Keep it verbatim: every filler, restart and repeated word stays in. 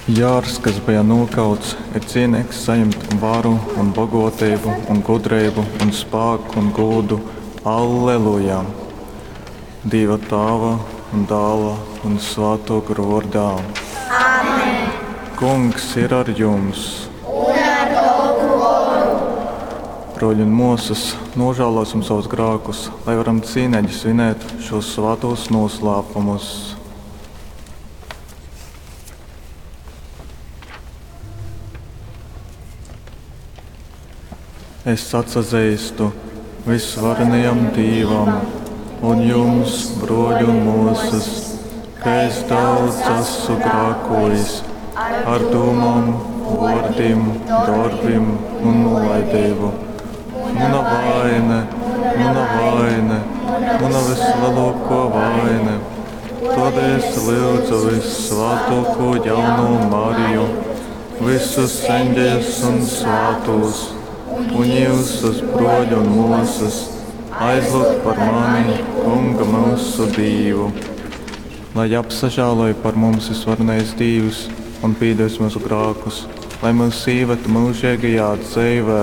Jārs, kas beja nūkauts, ir cīneigs sajimt varu un bogōteibu un gudreibu un spāku un gūdu. Alleluja! Dīva Tāva un Dāla un Svātō Gora vōrdā. Amen. Kungs ir ar jums! Un ar tovu goru! Brōļi un mōsas, nožēlosim savus grākus, lai varam cīneigi svinēt šos svātos noslēpumus. Es atsazeistu visvarenajam Dīvam un jums, brōļi un mōsas, ka es daudz esmu grākojis ar dūmām, vōrdim, dorbim un nolaideibu. Muna vaine, muna vaine, muna vislielākā vaine. Tādēļ es lūdzu vissvātāko jauno Mariju, visus eņģeļus un svātos, un jūsus brōļi un māsas, aizlūgt par mani, Kunga mūsu Dīvu. Lai apsažāloj par mums visvarenais Dīvs un pīdos mūsu grākus, lai mūs ieved mūžīgajā dzīvē.